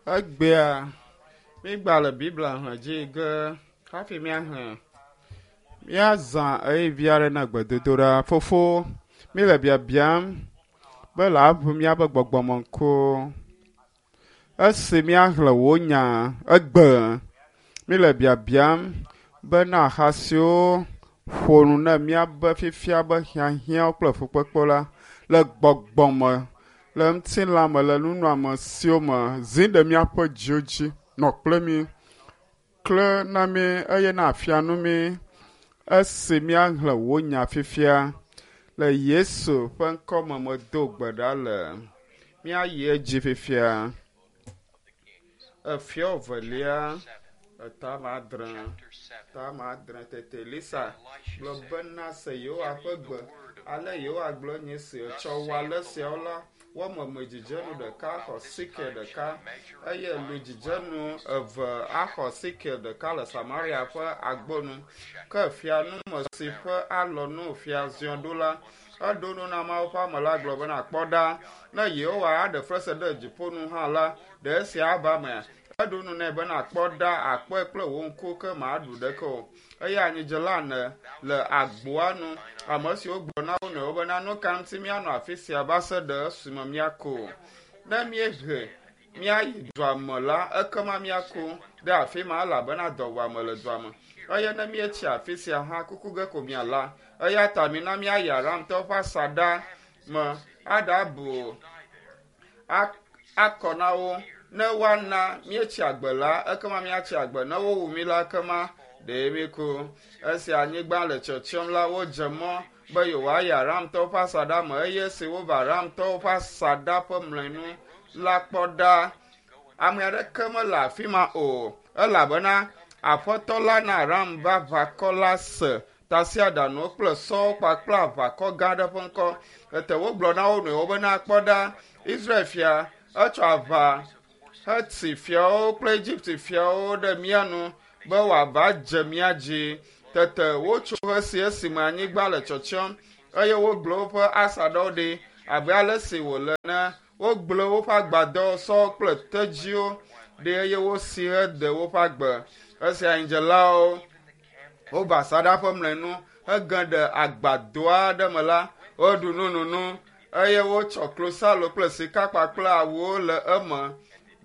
Egbea mígba le Biblia xlẽ dzi ge hafi míaxlẽ. Míazã ɣeyiɣi aɖe na gbedodoɖa. Fofo, míle biabiam be le aʋu míaƒe gbɔgbɔmeŋkuwo. Esi míaxlẽ wò nya egbe, míle biabiam be na axa siwo ƒo nu na míabe fifia be hiahiãwo kple fukpekpewo la le gbɔgbɔ me, le ŋutilã me, le nunɔamesiwo me, zi ɖe míaƒe dziwo dzi, nɔ kple mí, kle na mí eye na afia nu mí esi míaxlẽ wò nya fifia. Le Yesu ƒe ŋkɔme medo gbe ɖa le. Míayi edzi fifia. Efiɔ velia, etame adre, tame adre tete Elisa gblɔ bena se Yehowa ƒe gbe. Ale Yehowa gblɔ nye si etsɔ wɔ ale siawo la, wɔmeme dzidzenu ɖeka axɔ sikel ɖeka eye lu dzidzenu eve axɔ sikel ɖeka le Samaria ƒe agbonu. Ke fia nume si ƒe alɔnu fia ziɔ ɖo la, eɖo nu na Mawu ƒe ame la gblɔ bena, kpɔ ɖa, ne Yehowa aɖe fesre ɖe dziƒo nu hã la, ɖe esia ava emea? Eɖo nu nɛ bena, kpɔ ɖa, akpɔe kple wò ŋku ke màɖu ɖeke o. Eye anyidzela ene le agboa nu, ame siwo gblɔ na wo nɔewo bena, nu ka ŋuti míanɔ afi sia va se ɖe esime míaku? Ne míehe míayi dua me la, ekema míaku ɖe afi ma elabena dɔwuame le dua me. Eye ne míetsi afi sia hã, kuku ge ko míala. Eya ta mina míayi Aramtɔwo ƒe asaɖa me aɖabu akɔ na wo. Ne woana míetsi agbe la, ekema míatsi agbe. Ne wowu mí la, ekema ɖe míku. Esi anyigba le tsyɔtsyɔm la, wodze mɔ be yewoayi Aramtɔwo ƒe asaɖa me eye esi wova Aramtɔwo ƒe asaɖa ƒe mlɔenu la kpɔ ɖa, ame aɖeke mele afi ma o, elabena Aƒetɔ la na Aram ƒe aʋakɔ la se tasiaɖamwo kple sɔwo kpakple aʋakɔ gã aɖe ƒe ŋkɔ. Tete wogblɔ na wo nɔewo bena, kpɔ ɖa, Israel fia etsɔ aʋa heti fiawo kple Egipte fiawo ɖe mía nu be wòava dze mía dzi. Tete wotso ɣesi esime anyigba le tsyɔtsyɔm eye wogblẽ woƒe asaɖawo ɖi abe ale si wòle ene. Wogblẽ woƒe agbadɔwo, sɔwo kple tedziwo ɖi eye wosi hede woƒe agbe. Esi anyidzelawo wova asaɖa ƒe mlɔenu hege ɖe agbadɔ aɖe me la, woɖu nununu eye wotsɔ klosalo kple sika kpakple awuwo le eme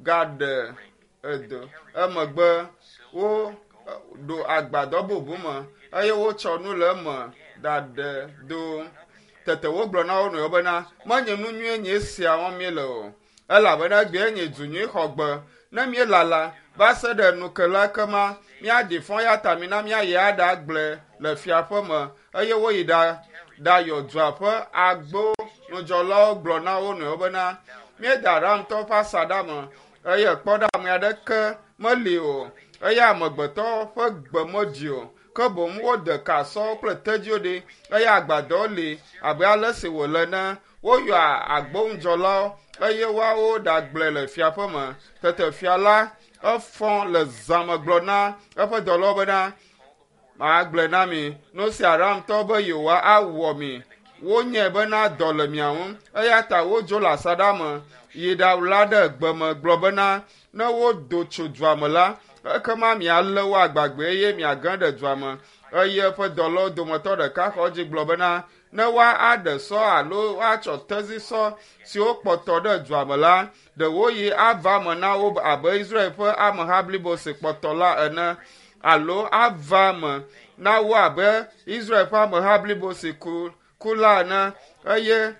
gaɖe edo. Emegbe woɖo agbadɔ bubu me eye wotsɔ nu le eme ɖaɖe do. Tete wogblɔ na wo nɔewo bena, menye nu nyuie nye esia wɔm míele o. Elabena egbee nye du nyui xɔgbe. Ne míelala va se ɖe nu ke la ekema míaɖi fɔ ya ta mina míayi aɖagblẽ le fia ƒe me. Eye woyi ɖa ɖayɔ dua ƒe agbo nudzɔlawo gblɔ na wo nɔewo bena, míede Aramtɔwo ƒe asaɖa me eye kpɔ ɖa ame aɖeke meli o eye amegbetɔ ƒe gbe meɖi o. Ke boŋ wode ka sɔwo kple tedziwo ɖi eye agbadɔwo li abe ale si wòle ene. Woyɔa agbonudzɔlawo eye woawo ɖagblɔe le fia ƒe me. Tete fia la efɔ le zã me gblɔ na eƒe dɔlawo bena, magblɔe na mi, nu si Aramtɔwo be yewoawɔ mi. Wonyae bena dɔ le mia ŋu eya ta wodzo le asaɖa me yi ɖaɣla ɖe gbe me gblɔ bena, ne wodo tso dua me la, ekema mialé wo agbagbe eye miage ɖe dua me. Eye eƒe dɔlawo dometɔ ɖeka xɔ edzi gblɔ bena, ne woaɖe sɔ alo woatsɔ tezisɔ siwo kpɔtɔ ɖe dua me la, ɖewoɣi ava eme na wo abe Israel ƒe ameha blibo si kpɔtɔ la ene, alo ava eme na wo abe Israel ƒe ameha blibo si ku, ku la ene, eye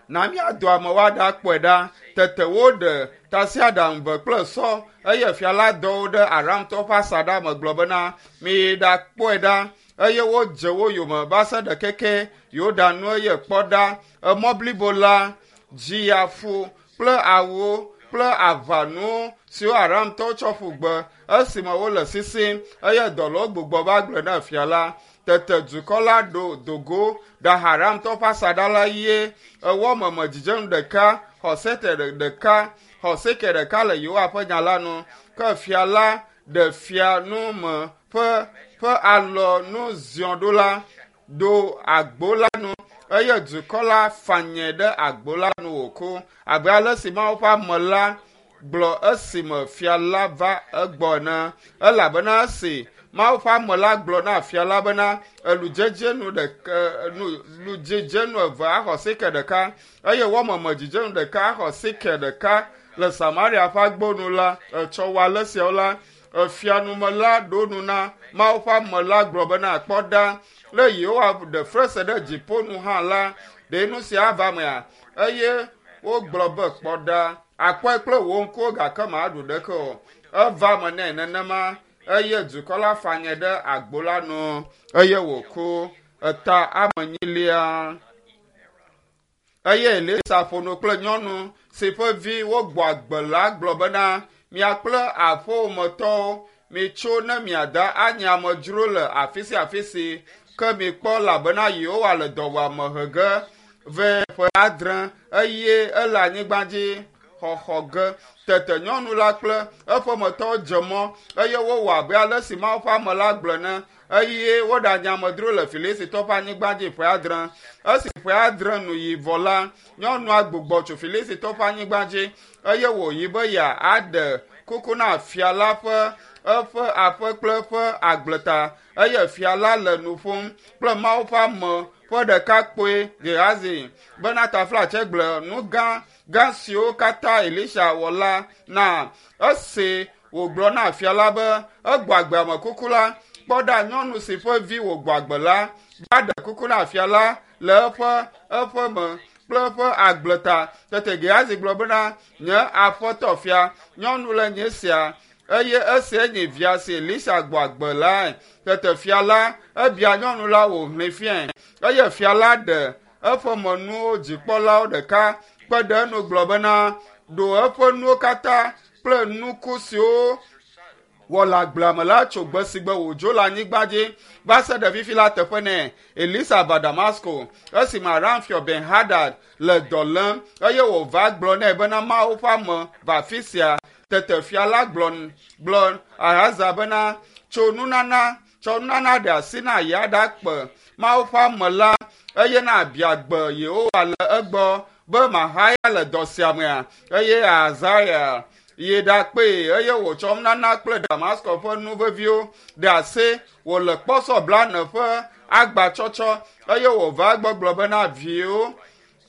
na míado amewo aɖakpɔe ɖa. Tete woɖe tasiaɖam ve kple sɔ eye fia la dɔ wo ɖe Aramtɔwo ƒe asaɖa me gblɔ bena, miyi ɖakpɔe ɖa. Eye wodze wo yome va se ɖe keke Yordan nu eye kpɔ ɖa, emɔ blibo la dzi ya fu kple awuwo kple aʋanuwo siwo Aramtɔwo tsɔ ƒu gbe esime wole sisim eye dɔlawo gbugbɔ va gblɔe na fia la. Tete dukɔ la ɖo do go ɖe Aramtɔwo ƒe asaɖa la eye ewɔ meme dzidzenu ɖeka, xɔ sekel ɖeka, xɔ sekel ɖeka le Yehowa ƒe nya la nu. Ke fia la ɖe fia nu me ƒe ƒe alɔ nu ziɔ ɖo la ɖo agbo la nu eye dukɔ la fanyɛ ɖe agbo la nu wòku abe ale si Mawu ƒe ame la gblɔ esime fia la va egbɔ ene elabena esi Mawu ƒe ame la gblɔ na fia la bena eludzedzenu ɖeka ludzedzenu eve axɔ sike ɖeka eye wɔmeme dzidzenu ɖeka axɔ sike ɖeka le Samaria ƒe agbo nu la etsɔ wɔ ale siawo la efianume la ɖo nu na Mawu ƒe ame la gblɔ bena kpɔ ɖa le Yehowa ɖe frese ɖe dziƒo nu hã la ɖe nu sia ava mea eye wogblɔ be kpɔ ɖa akpɔe kple wò ŋkuwo gake maɖu ɖeke o eva me nɛ nenema eye dukɔ la fanye ɖe agbo la nu eye wòku eta ame nyilia eye Elisa ƒo nu kple nyɔnu si ƒe vi wogbɔ agbe la gblɔ bena mia kple aƒewòmetɔwo mitso ne miada anye amedzro le afi sia afi si ke mikpɔ elabena Yehowa le dɔwuame he ge vɛ ƒe adre eye ele anyigba dzi xɔxɔ ge. Tete nyɔnu la kple eƒemetɔwo dze mɔ eye wowɔ abe ale si Mawu ƒe ame la gblɔ ene eye woɖanye amedzro le Filistitɔwo ƒe anyigba dzi ƒe adre. Esi ƒe adre nu yi vɔ la, nyɔnua gbugbɔ tso Filistitɔwo ƒe anyigba dzi eye wòyi be yeaɖe kuku na fia la ƒe eƒe aƒe kple eƒe agbleta eye fia la le nu ƒom kple Mawu ƒe ame ƒe ɖekakpui Gehazi bena taflatse gblɔ nu gã gã siwo katã Elisa wɔ la na. Esi wògblɔ na fia la be egbɔ agbe ame kuku la, kpɔ ɖa nyɔnu si ƒe vi wògbɔ agbe la va ɖe kuku na fia la le eƒe eƒe me kple eƒe agbleta. Tete Gehazi gblɔ bena, nye aƒetɔ fia, nyɔnu le nye sia eye esia nye via si Elisa gbɔ agbe lae. Tete fia la ebia nyɔnu la wòhlẽ fiae eye fia la ɖe eƒe menuwo dzikpɔlawo ɖeka kpe ɖe enu gblɔ bena ɖo eƒe nuwo katã kple nuku siwo wɔ le agblea me la tso gbe si gbe wòdzo le anyigba dzi va se ɖe fifi la teƒe nɛ. Elisa va Damasko esime Aram fia Ben Hadad le dɔ lém eye wòva gblɔ nɛ bena Mawu ƒe ame va afi sia. Tete fia la gblɔ gblɔ Ahaza bena tso nunana tsɔ nunana ɖe asi na yeaɖakpe Mawu ƒe ame la eye na abia gbe Yehowa le egbɔ be mahaya le dɔ sia mea eye Azaria yi ɖakpee eye wòtsɔ nunana kple Damasko ƒe nu veviwo ɖe asi wòle kpɔsɔ blane ƒe agbatsɔtsɔ eye wòva egbɔ gblɔ bena viwo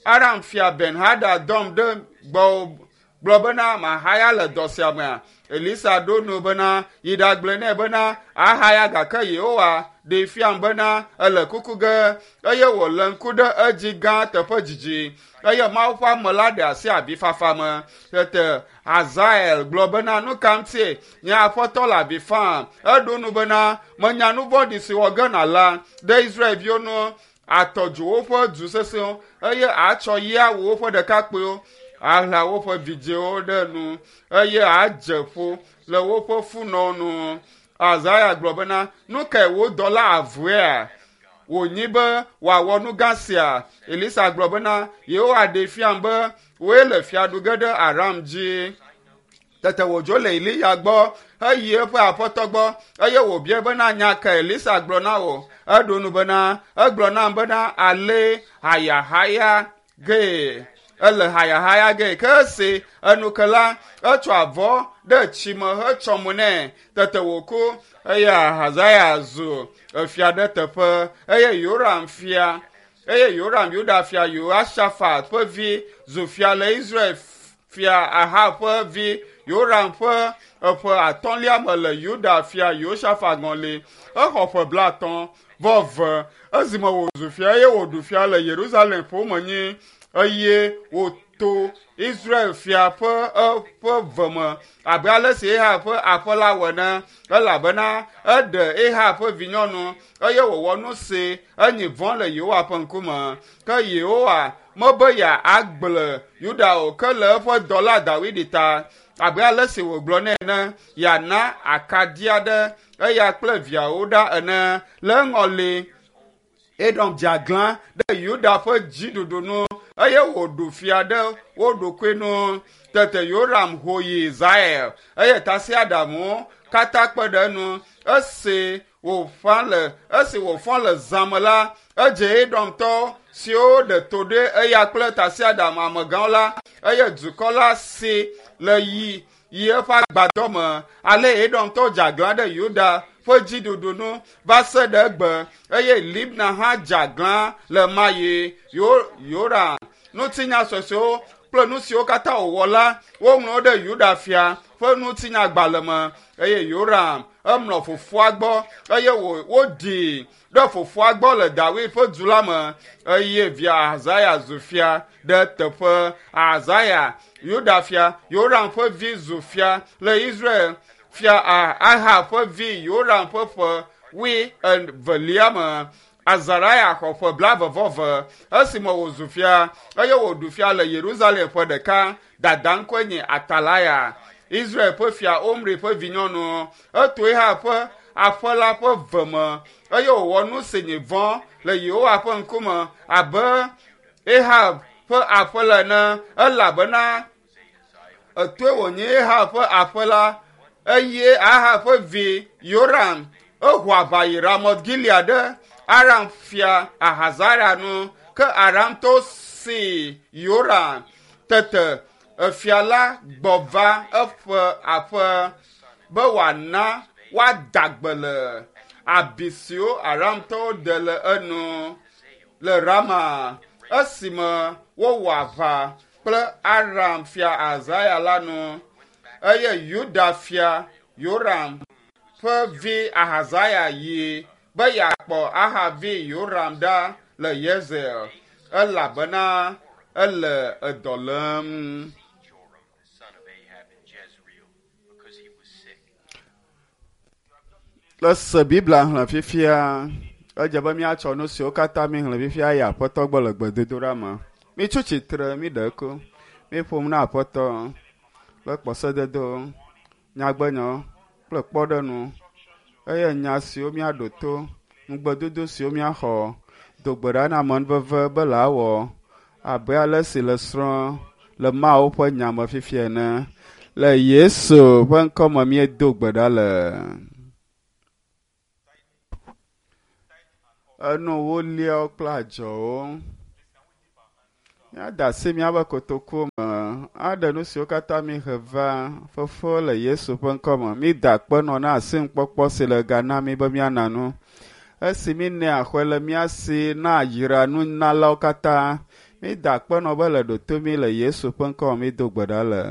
Aram fia Ben Hadad dɔm ɖe gbɔwò gblɔ bena mahaya le dɔ sia mea. Elisa ɖo nu bena yi ɖagblɔe nɛ bena ahaya gake Yehowa ɖee fiam bena ele kuku ge eye wòle ŋku ɖe edzi gã teƒe dzidzi eye Mawu ƒe ame la ɖe asi avifafa me. Tete Hazael gblɔ bena nu ka ŋutie nye aƒetɔ le avi fam? Eɖo nu bena menya nu vɔ̃ɖi si wɔ ge nàla ɖe Israelviwo ŋu atɔ dzo woƒe du sesẽwo eye atsɔ yi awu woƒe ɖekakpuiwo aɣla woƒe vidzĩwo ɖe nu eye adze ƒo le woƒe funɔwo nu. Azaya gblɔ bena, nu kae wò dɔla avea? Wònyi be wòawɔ nu gã sia. Elisa gblɔ bena, Yehowa ɖee fiam be wòe le fia ɖu ge ɖe Aram dzi. Tete wòdzo le Eliya gbɔ heyi eƒe aƒetɔ gbɔ eye wòbiae bena nya ka Elisa gblɔ na wò. Eɖo nu bena, egblɔ nam bena ale hayahaya gee. Ele hayahaya gee. Ke esi enu ke la, etsɔ avɔ ɖe tsi me hetsɔ mo nɛ. Tete wòku eye Ahazaya zu efia ɖe teƒe eye Yoram fia eye Yoram Yuda fia Yehoshafat ƒe vi zu fia le Israel fia Ahab ƒe vi Yoram ƒe eƒe atɔ̃lia me le Yuda fia Yehoshafat ŋɔli. Exɔ ƒe blaetɔ̃ vɔ eve esime wòzu fia eye wòɖu fia le Yerusalem ƒome nyi eye wòto Israel fia ƒe eƒe ve me abe ale si Ahab ƒe aƒe la wɔ ene elabena eɖe Ahab ƒe vinyɔnu eye wòwɔ nu si enyi vɔ̃ le Yehowa ƒe ŋkume. Ke Yehowa mebe yeagblẽ Yuda o ke le eƒe dɔla Dawidi ta abe ale si wògblɔ nɛ ene yeana akaɖi aɖe eya kple viawo ɖa ene le eŋɔli. Edom dze aglã ɖe Yuda ƒe dziɖuɖu nu eye wòɖu fia ɖe wo ɖokui nu. Tete Yoram ho yi Zair eye tasiaɖamwo katã kpe ɖe enu. Esi wòfa le esi wòfɔ le zã me la, edze Edomtɔwo siwo ɖe to ɖe eya kple tasiaɖam amegãwo la eye dukɔ la si le yi yi eƒe agbadɔ me. Ale Edomtɔwo dze aglã ɖe Yuda ƒe dziɖuɖu nu va se ɖe egbe eye Libna hã dze aglã le ma yi Yoram ŋutinya suesuewo kple nu siwo katã wòwɔ la woŋlɔ wo ɖe Yuda fia ƒe ŋutinyagbalẽ me eye Yoram emlɔ fofoa gbɔ eye woɖii ɖe fofoa gbɔ le David ƒe du la me eye via Ahazia zu fia ɖe teƒe. Ahazia, Yuda fia, Yoram ƒe vi zu fia le Israel fia Ahab ƒe vi Yoram ƒe ƒe wuievelia me. Azaria xɔ ƒe blaeve-vɔ-eve esime wòzu fia eye wòɖu fia le Yerusalem ƒe ɖeka. Dada ŋkɔe nye Atalaya, Israel ƒe fia Omri ƒe vinyɔnu. Eto Ahab ƒe aƒe la ƒe ve me eye wòwɔ nu si nye vɔ̃ le Yehowa ƒe ŋkume abe Ahab ƒe aƒe la ene elabena etoe wònye Ahab ƒe aƒe la eye Ahab ƒe vi Yoram eho aʋa yi Ramot Gilead ɖe Aram fia Ahazara nu ke Aramtɔwo si Yoram. Tete efia la gbɔ va eƒe aƒe be wòana woada gbe le abi siwo Aramtɔwo de le enu le Rama esime wowɔ aʋa kple Aram fia Ahazia la nu eye Yuda fia Yoram ƒe vi Ahazia yi be yeakpɔ Ahab vi Yoram ɖa le Yezreel elabena ele edɔ lém. Joram, the son of Ahab, in Jezreel, because he was sick. Le se Biblia xlẽ fifia, edze be míatsɔ nu siwo katã míxlẽ fifia yi Aƒetɔ gbɔ le gbedodoɖa me. Mitso tsitre, míɖe eku, míƒom na Aƒetɔ kple kpɔsededo, nyagbenyawo kple kpɔɖeŋu eye nya siwo míaɖo to, ŋugbedodo siwo míaxɔ, do gbe ɖa na amenuveve be le awɔ abe ale si le srɔ̃ le Mawu ƒe nya me fifia ene. Le Yesu ƒe ŋkɔme míedo gbe ɖa le. Enu woliawo kple adzɔwo. Míada asi míaƒe kotokuwo me aɖe nu siwo katã míhe va fofo le Yesu ƒe ŋkɔme. Mída akpe nɔ na asinukpɔkpɔ si le ga na mí be míana nu. Esi mínɛ axɔe le mía si na yra nunalawo katã. Mída akpe nɔ be le ɖo to mí le Yesu ƒe ŋkɔme mído gbe ɖa le.